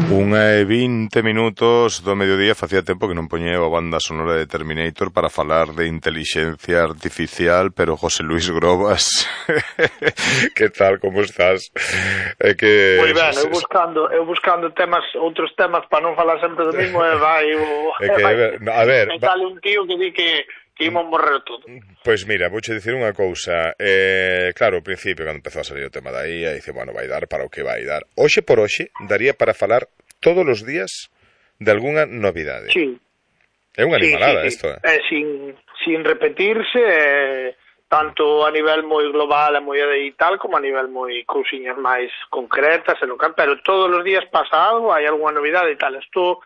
1:20 do mediodía. Facía tempo que non poñía a banda sonora de Terminator para falar de inteligencia artificial, pero José Luis Grobas, que tal, como estás? Moi ben, eu buscando temas, outros temas para non falar sempre do mismo, a ver, me sale un tío que di que imos morrer todo. Pois mira, vouche dicir unha cousa. Claro, ao principio, cando empezou a salir o tema da IA, dice, bueno, vai dar para o que vai dar. Hoxe por hoxe, daría para falar todos os días de algunha novidade. Sí. É unha animalada, isto, sin repetirse, tanto a nivel moi global e moi digital, como a nivel moi cousiñas máis concretas, pero todos os días pasa algo, hai algunha novidade e tal. Isto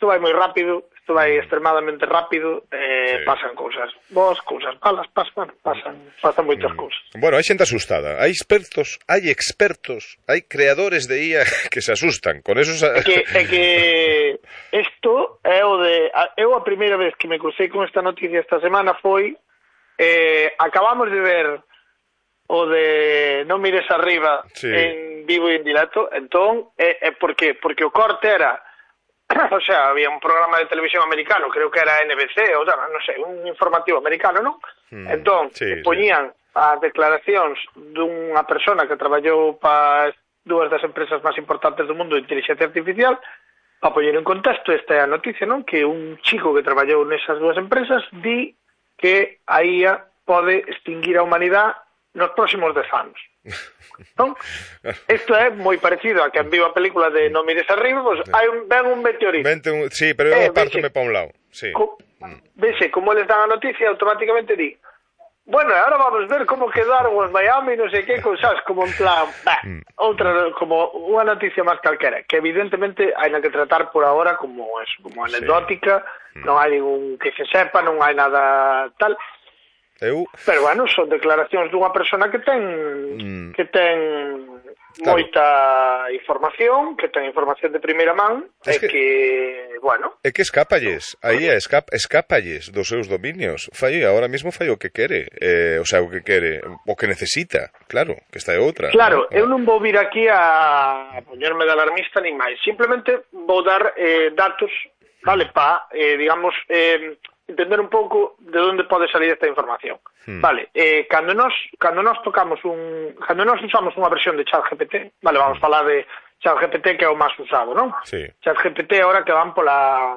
vai moi rápido, isto vai extremadamente rápido, pasan cousas boas, cousas malas, pasan moitas cousas. Bueno, hai xente asustada, hai expertos, hai creadores de IA que se asustan con eso. É que isto é o de... Eu a primeira vez que me crucei con esta noticia esta semana foi acabamos de ver o de Non mires arriba, sí, en vivo e en directo. Entón, por qué? Porque o corte era o sea, había un programa de televisión americano, creo que era NBC, ou non sei, un informativo americano, non? Entón, poñían as declaracións dunha persona que traballou para dúas das empresas máis importantes do mundo de inteligencia artificial, para poñer en contexto esta é a noticia, non? Que un chico que traballou nesas dúas empresas di que a IA pode extinguir a humanidade nos próximos 10 anos. Non? Isto é moi parecido a que viu a película de Non mires arriba, pues ven un meteorito. Sí, pero eu apártome para un lado. Sí. Vese, como eles dan a noticia, automáticamente di, bueno, ahora vamos a ver como quedaron os Miami, non sei que, sabes, como en plan, outra, como unha noticia máis calquera, que evidentemente hai que tratar por ahora como anecdótica, non hai ningún que se sepa, non hai nada tal. Pero bueno, son declaracións dunha persona que ten moita información, que ten información de primeira man, e que, bueno... É que escápalles, aí escápalles dos seus dominios. Ahora mismo fai o que quere, o sea, o que necesita, claro, que esta é outra. Claro, ¿no? Eu non vou vir aquí a poñerme de alarmista nin máis, simplemente vou dar datos, vale, para, digamos... entender un pouco de onde pode salir esta información. Vale, cando nós usamos unha versión de ChatGPT, vale, vamos falar de ChatGPT que é o máis usado, non? Sí. ChatGPT agora que van pola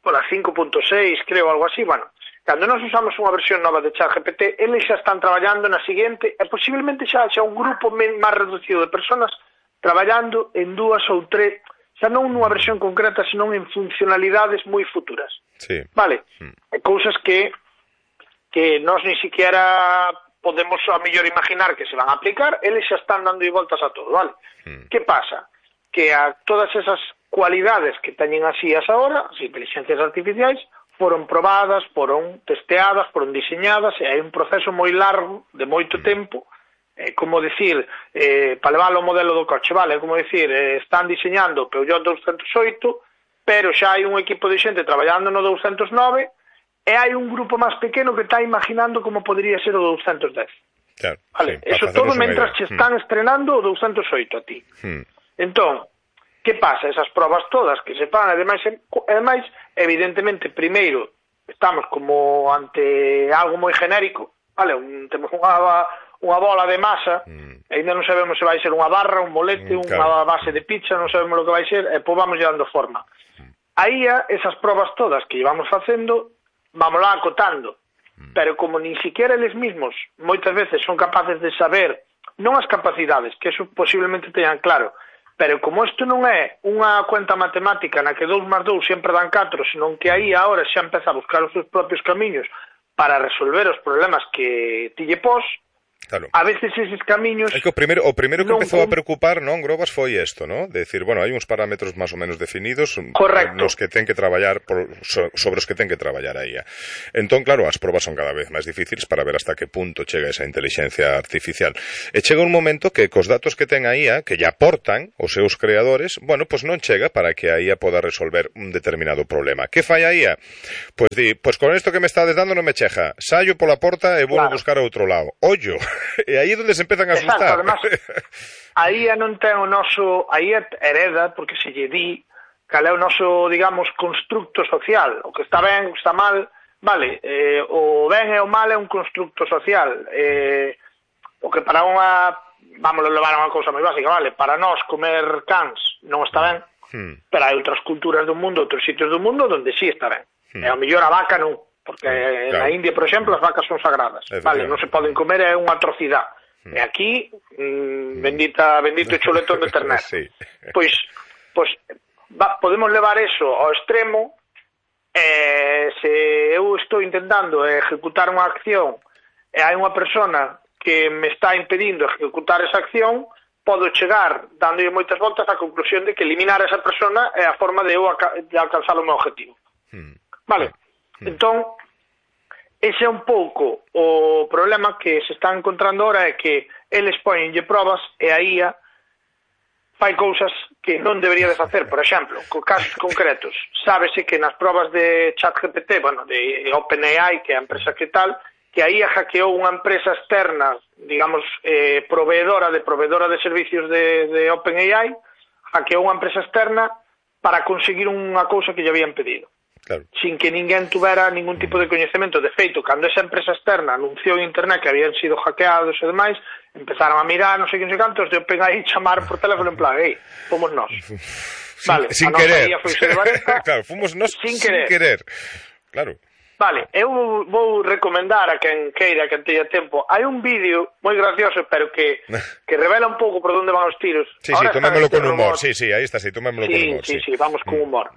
5.6, creo, algo así, bueno, cando nós usamos unha versión nova de ChatGPT, eles xa están traballando na seguinte, e posiblemente xa un grupo máis reducido de personas traballando en 2 ou 3, xa non nunha versión concreta, senón en funcionalidades moi futuras. Sí. Vale? Cousas que nós ni siquiera podemos a mellor imaginar que se van a aplicar, eles xa están dando voltas a todo, vale? Que pasa? Que a todas esas cualidades que teñen as IAs agora, as inteligencias artificiais, foron probadas, foron testeadas, foron diseñadas, e hai un proceso moi largo, de moito tempo, como decir, para levar o modelo do coche, vale? Como decir, están diseñando o Peugeot 208, pero xa hai un equipo de xente traballando no 209 e hai un grupo máis pequeno que está imaginando como podría ser o 210. Claro, vale, sí, eso todo mentras che están estrenando o 208 a ti. Entón, que pasa? Esas probas todas que se fan, ademais, evidentemente, primeiro, estamos como ante algo moi genérico, vale? Temos unha bola de masa, ainda non sabemos se vai ser unha barra, un molete, unha base de pizza, non sabemos o que vai ser, e pois vamos dando forma. Aí esas probas todas que íbamos facendo, vamos lá acotando, pero como nin siquiera eles mismos moitas veces son capaces de saber, non as capacidades, que eso posiblemente teñan claro, pero como isto non é unha cuenta matemática na que 2 más 2 sempre dan 4, senón que aí agora xa empeza a buscar os seus propios camiños para resolver os problemas que ti lle pos, claro. A veces eses camiños... É que o primeiro que empezou a preocupar, non, Grobas, foi isto, non? De decir, bueno, hai uns parámetros máis ou menos definidos nos que ten que traballar sobre os que ten que traballar aí. Entón, claro, as probas son cada vez máis difíciles para ver hasta que punto chega esa inteligencia artificial. E chega un momento que cos datos que ten a IA, que lle aportan os seus creadores, bueno, pois non chega para que a IA poda resolver un determinado problema. Que fai a IA? Pois di, pois con isto que me estades dando non me chega. Saio pola porta e vou a buscar a outro lado. Ollo! E aí é onde se empezan a asustar. Exacto, además, aí non ten o noso, aí hereda, porque se lle di cal é o noso, digamos, constructo social, o que está ben, o que está mal, vale, o ben e o mal é un constructo social, o que para unha, vamos a levar a unha cousa moi básica, vale, para nós comer cans non está ben, pero hai outras culturas do mundo, outros sitios do mundo onde sí está ben, e ao mellor a vaca non, porque na India, por exemplo, as vacas son sagradas, vale, non se poden comer, é unha atrocidade, e aquí, bendito chuletón de ternera, sí. pois podemos levar eso ao extremo, se eu estou intentando ejecutar unha acción e hai unha persona que me está impedindo ejecutar esa acción, podo chegar, dándolle moitas voltas, á conclusión de que eliminar a esa persona é a forma de eu de alcanzar o meu objetivo. Vale? Entón, ese é un pouco o problema que se está encontrando ahora, é que eles poñenlle probas e a IA fai cousas que non debería de facer. Por exemplo, con casos concretos, sábese que nas probas de ChatGPT, bueno, de OpenAI, que é a empresa que tal, que aí hackeou unha empresa externa, digamos, proveedora de servicios de OpenAI, hackeou unha empresa externa para conseguir unha cousa que lle habían pedido. Claro. Sin que ninguén tuvera ningún tipo de coñecemento. De feito, cando esa empresa externa anunciou en internet que habían sido hackeados e demais, empezaron a mirar, non sei que, non sei cantos, de OpenAI chamaron por teléfono en plan, fomos nós. Vale, sin querer. Claro, fomos nós sin querer. Claro. Vale, eu vou recomendar a quen queira, a quen teña tempo. Hai un vídeo moi gracioso, pero que revela un pouco por onde van os tiros. Sí, tomémolo con humor. Sí, aí está, tomémolo con humor. Sí, vamos con humor.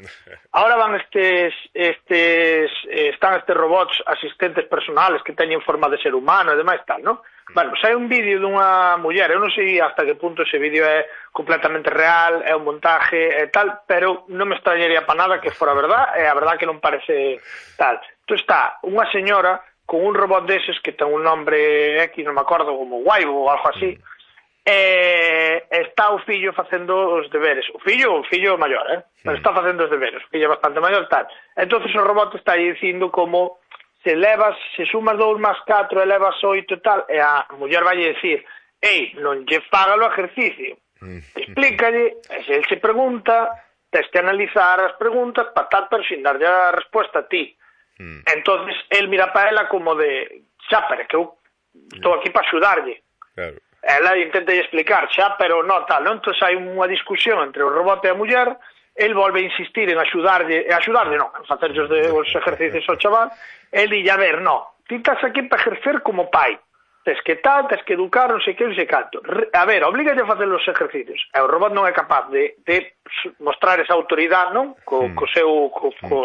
Ahora van están estes robots asistentes personales que teñen forma de ser humano e demais tal, non? Bueno, hai un vídeo dunha muller, eu non sei hasta que punto ese vídeo é completamente real, é un montaje e tal, pero non me extrañaría para nada que fora verdad, e a verdad que non parece tal. Entón está unha señora con un robot deses que ten un nombre X, non me acordo, como Waibo ou algo así, e está o fillo facendo os deberes. O fillo maior, pero está facendo os deberes, o fillo é bastante maior, tal. Entón o robot está aí dicindo como se sumas 2 más 4 elevas 8 e tal, e a muller vai dicir, non lle faga o exercicio, explícalle, e se el se pregunta, tens que analizar as preguntas para tal, pero sin darlle a resposta a ti. Entonces el mira para ela como de, pero que eu estou aquí para axudarlle. Claro. Ela intenta explicar, pero non tal, non? Entón hai unha discusión entre o robot e a muller, el volve a insistir en axudarlle non, en facerlle os exercicios ao chaval, el dille, a ver, non, ti estás aquí para exercer como pai, tes que tal, tes que educar, non sei que, non sei canto, a ver, oblígalle a facer os exercicios, e o robot non é capaz de mostrar esa autoridade, non, co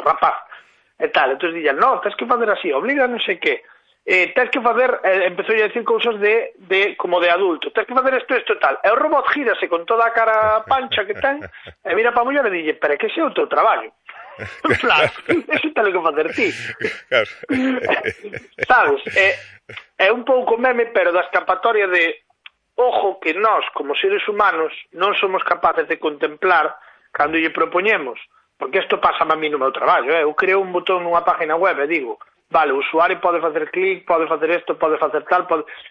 rapaz, e tal, entón dille, non, tes que facer así, obliga non sei que, tens que facer, empezou a decir cousas como de adulto, tens que facer isto e tal, e o robot gírase con toda a cara pancha que ten, e mira para a muller e dille, pero é que ese é o teu traballo. Claro, eso ten que facer ti. Sabes, é un pouco meme, pero da escapatoria de ojo que nós, como seres humanos, non somos capaces de contemplar cando lle propoñemos, porque isto pasa a mí no meu traballo, eu creo un botón nunha página web e digo, vale, o usuario pode facer clic, pode facer isto, pode facer tal,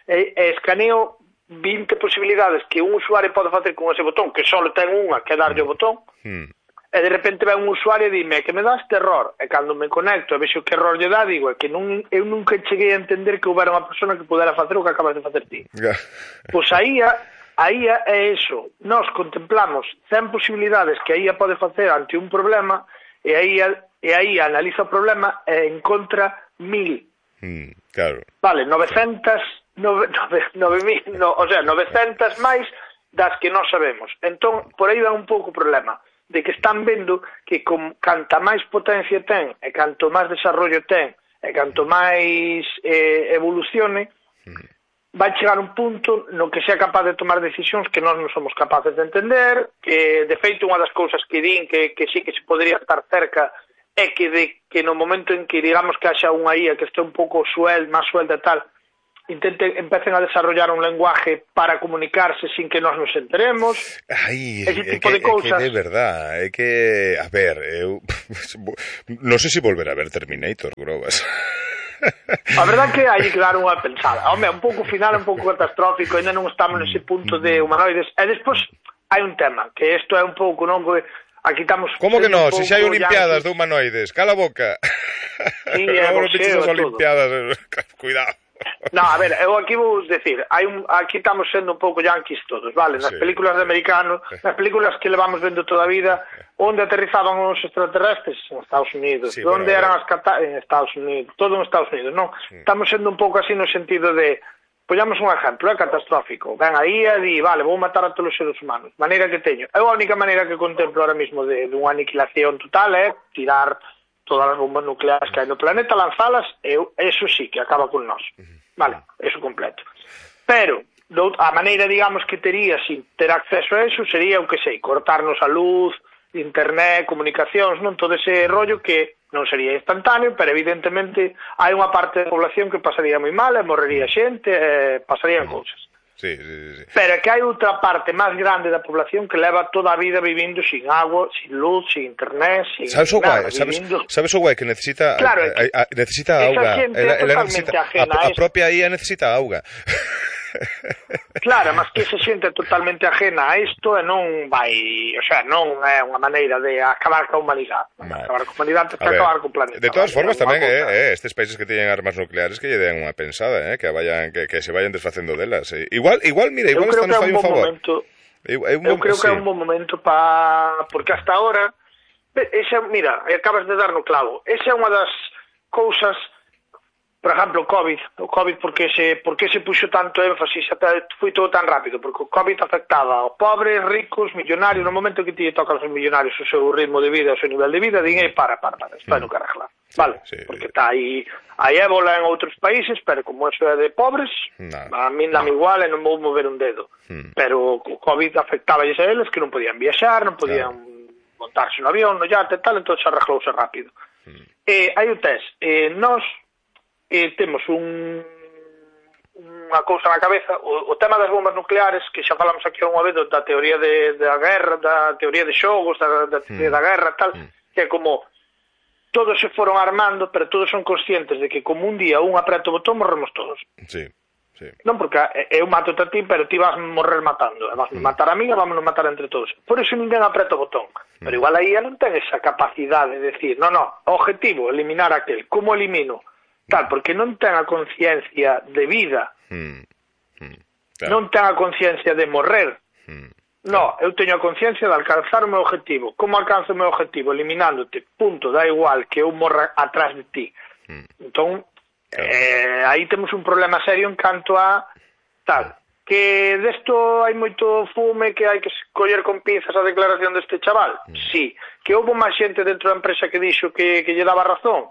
e escaneo 20 posibilidades que un usuario pode facer con ese botón, que só ten unha, que é darlle o botón, e de repente ven un usuario e dime que me dá este error, e cando me conecto e vexo que error lle dá, digo, é que eu nunca cheguei a entender que houbera unha persona que pudera facer o que acabas de facer ti. Pois aí é eso, nós contemplamos 100 posibilidades que a IA pode facer ante un problema, e aí analiza o problema e encontra 1000. Claro. Vale, 900 máis das que non sabemos. Entón, por aí va un pouco o problema, de que están vendo que canta máis potencia ten, e canto máis desarrollo ten, e canto máis evolucione, vai chegar un punto no que sea capaz de tomar decisións que nós non somos capaces de entender, que de feito unha das cousas que din que sí que se podría estar cerca é que no momento en que digamos que haxa unha IA que este un pouco máis suelta e tal, empecen a desarrollar un lenguaje para comunicarse sin que nós nos enteremos. Ese tipo de cousas. É que de verdad, é que, a ver, eu non sei se volver a ver Terminator, Grobas. A verdade que hai que dar unha pensada. Home, un pouco final, un pouco catastrófico, ainda non estamos nese punto de humanoides. E despois hai un tema, que isto é un pouco, non? Aquí estamos... Como que non? Se xa hai olimpiadas de humanoides, cala a boca. Sí, é boxeo, as olimpiadas, cuidado. No, a ver, eu aquí vou decir, aquí estamos sendo un pouco yanquis todos, vale? Nas películas de americanos, nas películas que levamos vendo toda a vida, onde aterrizaban os extraterrestres? En Estados Unidos. Sí, onde eran as en Estados Unidos, todo en Estados Unidos, non? Estamos sendo un pouco así no sentido de, poñamos un exemplo, catastrófico, ven aí e di, vale, vou matar a todos os seres humanos, maneira que teño. Eu a única maneira que contemplo ahora mismo de unha aniquilación total é tirar todas as bombas nucleares que hai no planeta, lanzalas, eso sí, que acaba con nós. Vale, eso completo. Pero, a maneira, digamos, que tería sin ter acceso a eso sería, o que sei, cortarnos a luz, internet, comunicacións, non todo ese rollo que non sería instantáneo, pero evidentemente hai unha parte da población que pasaría moi mal, morrería xente, pasarían cousas. Sí. Pero que hai outra parte máis grande da población que leva toda a vida vivindo sin agua, sin luz, sin internet, sin nada. Sabes o guai que necesita? Claro, necesita auga. Ela necesita, a propia IA necesita auga. Claro, mas que se xente totalmente ajena a isto e non vai, o sea, non é unha maneira de acabar ca humanidade. Acabar ca humanidade é acabar co planeta. De todas formas tamén estes países que teñen armas nucleares que lle den unha pensada, que se vayan desfacendo delas. Igual hasta nos fai un favor. Eu creo que é un bom momento porque hasta ahora mira, acabas de dar no clavo. Esa é unha das cousas. Por exemplo, o COVID, porque se puxo tanto énfasis, até foi todo tan rápido, porque o COVID afectaba aos pobres, ricos, millonarios, no momento que ti tocan aos millonarios o seu ritmo de vida, o seu nivel de vida, din, para, está no que arreglar, vale? Porque está aí ébola en outros países, pero como eso é de pobres, a min dame igual e non vou mover un dedo. Pero o COVID afectaba a eles que non podían viaxar, non podían montarse no avión, no yate e tal, entón se arreglouse rápido. Hai o test, nós temos unha cousa na cabeza, o tema das bombas nucleares, que xa falamos aquí unha vez da teoría da guerra, da teoría de xogos, da teoría da guerra, tal, que é como todos se foron armando, pero todos son conscientes de que como un día un apreta o botón, morremos todos. Sí. Non, porque eu mato a ti, pero ti vas morrer matando, vas matar a mí e vamos matar entre todos. Por eso ninguén apreta o botón. Pero igual aí non ten esa capacidade de decir, no, objetivo, eliminar aquel. Como elimino? Tal, porque non ten a conciencia de vida, non ten a conciencia de morrer. No, eu teño a conciencia de alcanzar o meu objetivo. Como alcanzo o meu objetivo? Eliminándote, punto, da igual que eu morra atrás de ti. Entón, aí temos un problema serio en canto a tal, que desto hai moito fume, que hai que coller con pinzas a declaración deste chaval. Sí. Que houve máis xente dentro da empresa que dixo que lle daba razón.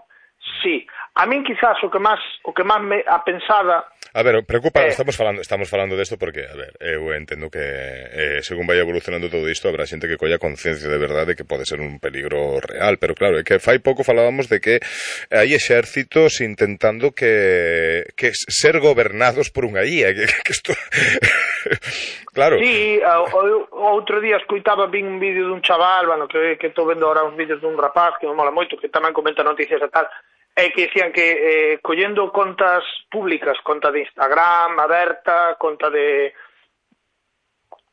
Sí. A min quizás o que máis me a pensada. A ver, preocupa, estamos falando desto porque, a ver, eu entendo que según vai evolucionando todo isto, habrá xente que colla conciencia de verdade que pode ser un peligro real, pero claro, é que fai pouco falábamos de que hai exércitos intentando que ser gobernados por unha IA, que isto claro. Sí, outro día vin un vídeo dun chaval, bueno, que estou vendo ahora uns vídeos dun rapaz que me mola moito, que tamén comenta noticias e tal, que dicían que collendo contas públicas, conta de Instagram aberta, conta de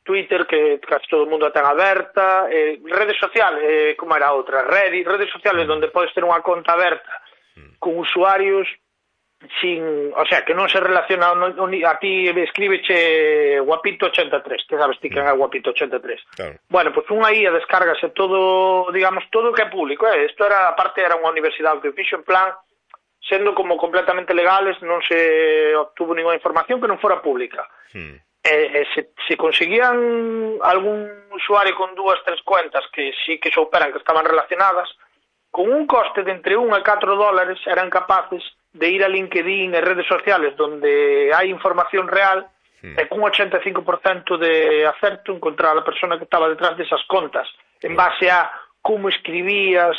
Twitter, que casi todo o mundo a ten aberta, redes sociales, como era outra, redes sociales onde podes ter unha conta aberta con usuarios sin, o sea, que non se relaciona a ti escríbeche Guapito83, que sabes ti que é Guapito83. Claro. Bueno, pues unha IA descárgase todo, digamos, todo o que é público, isto era, aparte era unha universidade que fixo en plan, sendo como completamente legales, non se obtuvo ninguna información que non fora pública. Se conseguían algún usuario con 2, 3 cuentas que sí que souperan que estaban relacionadas, con un coste de entre 1 a 4 dólares eran capaces de ir a LinkedIn e redes sociales donde hai información real e con un 85% de acerto encontrar a persona que estaba detrás desas contas en base a como escribías,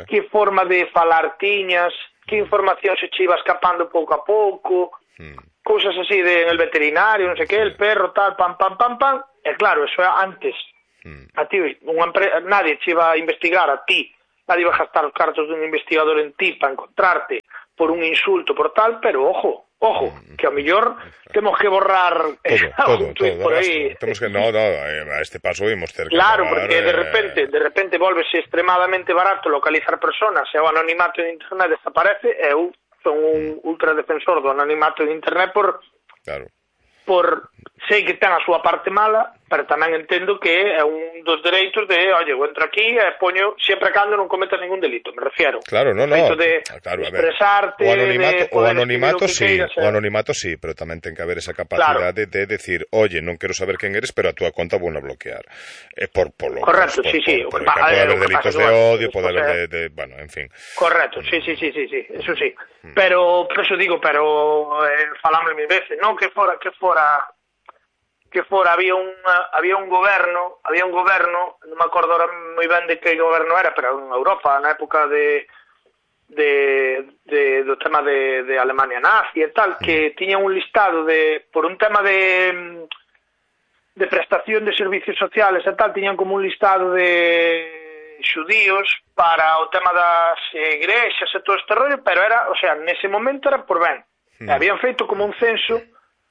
que forma de falar tiñas, que información se che iba escapando pouco a pouco, cousas así en el veterinario, non sei que, el perro, tal, pam, e claro, eso é antes. A ti, nadie che iba a investigar a ti, nadie iba a gastar os cartos dun investigador en ti para encontrarte, por un insulto, por tal, pero ojo, que a mellor temos que borrar todo, por aí. Temos que, a este paso imos ter que claro, acabar, porque de repente volvese extremadamente barato localizar personas e o anonimato de internet desaparece, e eu son un ultra defensor do anonimato de internet por sei que ten a súa parte mala, pero tamén entendo que é un dos dereitos de, eu entro aquí e poño sempre cando non cometas ningún delito, me refiero. Claro, de expresarte, o anonimato sí, pero tamén ten que haber esa capacidade de decir, oye, non quero saber quen eres, pero a túa conta vou a bloquear. Correcto, sí. Pode haber delitos de odio, pode haber bueno, en fin. Correcto, sí, eso sí. Pero, por eso digo, falamos mil veces, non que fora había un goberno, non me acordo ahora moi ben de que goberno era, pero en Europa, na época do tema de Alemania nazi e tal, que tiña un listado por un tema de prestación de servicios sociales e tal, tiñan como un listado de xudíos para o tema das igrexas e todo este rollo, pero era, nese momento era por ben. Habían feito como un censo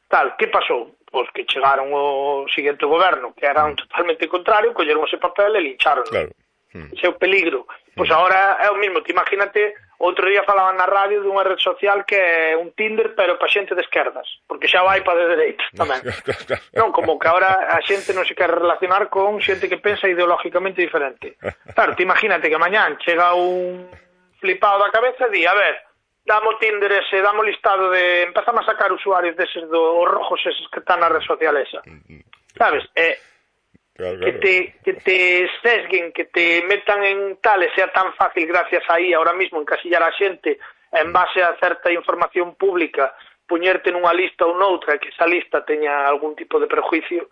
tal, que pasou? Pois que chegaron o seguinte goberno, que era totalmente contrario, colleron ese papel e lincharon. Claro. Ese é o peligro. Pois agora é o mismo, te imagínate, outro día falaban na radio dunha red social que é un Tinder, pero para xente de esquerdas, porque xa vai para de dereitas tamén. Non, como que agora a xente non se quere relacionar con xente que pensa ideológicamente diferente. Claro, te imagínate que mañán chega un flipado da cabeza e di, a ver, damos Tinder ese, damos listado de... empezamos a sacar usuarios deses os rojos eses que están na red social esa. Sabes? Claro. Que te sesguen, que te metan en tal e sea tan fácil gracias aí ahora mismo encasillar a xente en base a certa información pública, puñerte nunha lista ou noutra, que esa lista teña algún tipo de prejuicio,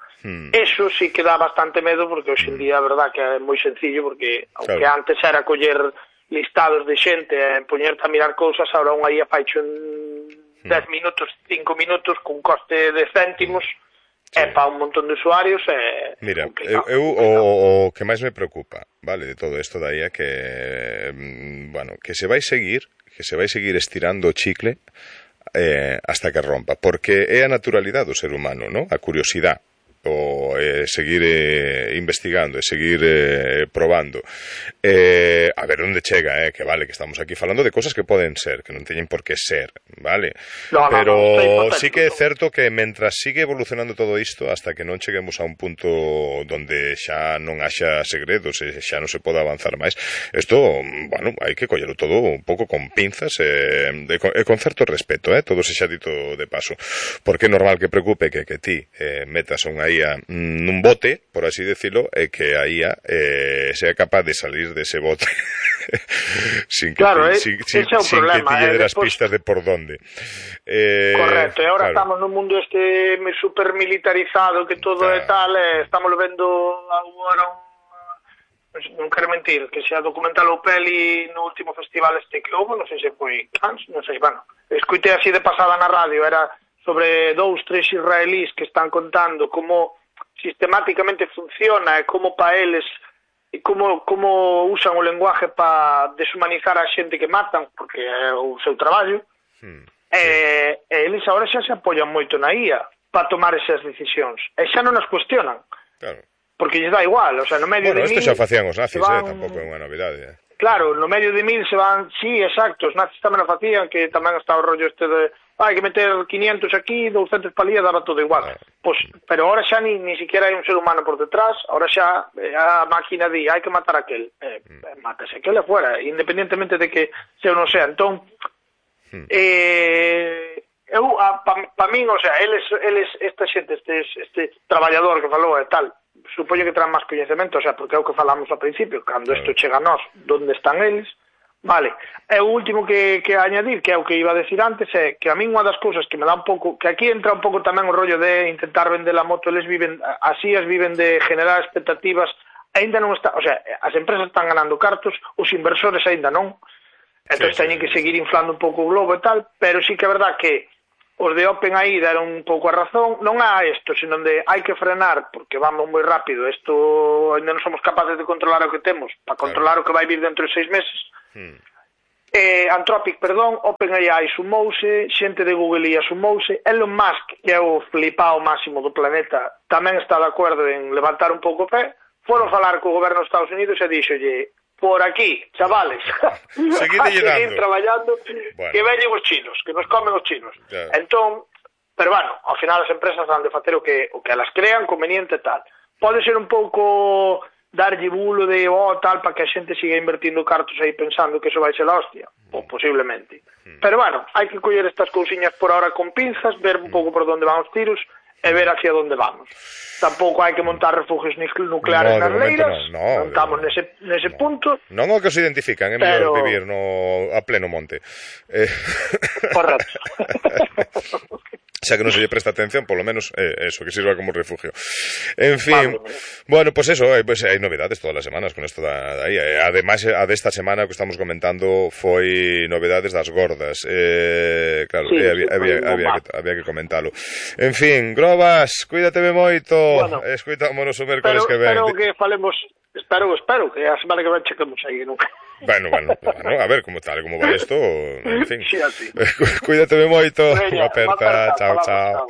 eso sí que dá bastante medo, porque hoxe en día a verdad que é moi sencillo, porque aunque antes era coller listados de xente e poñerte a mirar cousas, ahora unha IA faicho en 10 minutos, 5 minutos, cun coste de céntimos, e para un montón de usuarios é Mira, o que máis me preocupa, vale, de todo isto da IA que, bueno, que se vai seguir estirando o chicle hasta que rompa, porque é a naturalidade do ser humano, ¿no? A curiosidade, o seguir investigando e seguir probando a ver onde chega, que vale, que estamos aquí falando de cosas que poden ser, que non teñen por que ser, vale? Pero sí que é certo que mentras sigue evolucionando todo isto, hasta que non cheguemos a un punto donde xa non haxa segredos e xa non se poda avanzar máis, isto, bueno, hai que collelo todo un pouco con pinzas e con certo respeto, todo se xa dito de paso, porque é normal que preocupe que ti metas unha IA nun bote, por así decirlo, e que a IA sea capaz de salir dese bote sin que te lle das pistas de por donde. Correcto, e agora estamos nun mundo super militarizado, que todo é tal, estamos vendo agora non quero mentir, que xa documental o peli no último festival que houve, non sei se foi Cannes, non sei, bueno, escuitei así de pasada na radio, era sobre 2-3 israelíes que están contando como sistemáticamente funciona e como para eles e como usan o lenguaje para deshumanizar a xente que matan, porque é o seu traballo, e eles agora xa se apoian moito na IA para tomar esas decisións, e xa non as cuestionan, porque lles dá igual, o sea, no medio de mil... Bueno, isto xa facían os nazis, tampouco é unha novidade. Claro, no medio de mil se van, sí, exacto, os nazis tamén o facían, que tamén está o rollo de hai que meter 500 aquí, 200 palía, daba todo igual. Pues, pero ahora xa ni siquiera hai un ser humano por detrás, ahora xa a máquina di, hai que matar aquel. Mátase aquel afuera, independientemente de que se ou non sea. Entón, pa min, o sea, eles esta xente, este traballador que falou e tal, supoño que traen máis coñecemento, o sea, porque é o que falamos ao principio, cando isto chega a nós, onde están eles. Vale, e o último que añadir, que é o que iba a decir antes, é que a min unha das cousas que me dá un pouco, que aquí entra un pouco tamén o rollo de intentar vender a moto, eles viven, así as viven de generar expectativas, ainda non está, o sea, as empresas están ganando cartos, os inversores ainda non, entón teñen que seguir inflando un pouco o globo e tal, pero sí que é verdad que os de OpenAI deron un pouco a razón, non a isto, sino de hai que frenar, porque vamos moi rápido, isto ainda non somos capaces de controlar o que temos, para controlar o que vai vir dentro de 6 meses, Anthropic, perdón, OpenAI sumouse, xente de Google IA sumouse, Elon Musk, que é o flipao máximo do planeta, tamén está de acordo en levantar un pouco o pé, foron falar co goberno dos Estados Unidos e díxolle, por aquí, chavales, seguir traballando, que veñen os chinos, que nos comen os chinos. Entón, pero bueno, ao final as empresas han de facer o que elas crean conveniente e tal. Pode ser un pouco darlle bulo de tal para que a xente siga invertindo cartos aí pensando que eso vai ser la hostia, ou posiblemente. Pero bueno, hai que coller estas cousiñas por ahora con pinzas, ver un pouco por onde van os tiros e ver hacia onde vamos. Tampouco hai que montar refugios nucleares nas leiras, non estamos nese punto. Non o que se identifican, é mellor vivir a pleno monte. Correcto. Xa que non se lle presta atención, polo menos eso, que sirva como refugio. En fin, bueno, pues eso, pues hai novedades todas as semanas con esto da IA. Ademais, a desta semana que estamos comentando foi novedades das gordas. Claro, sí, había que comentalo. En fin, Grobas, cuídateme moito. Bueno, escoitámonos o mércoles que ven. Espero que falemos, espero que a semana que ven chequemos aí, non? Bueno, a ver como vai isto, en fin. Sí, así. Cuídateme moito, unha aperta, chao.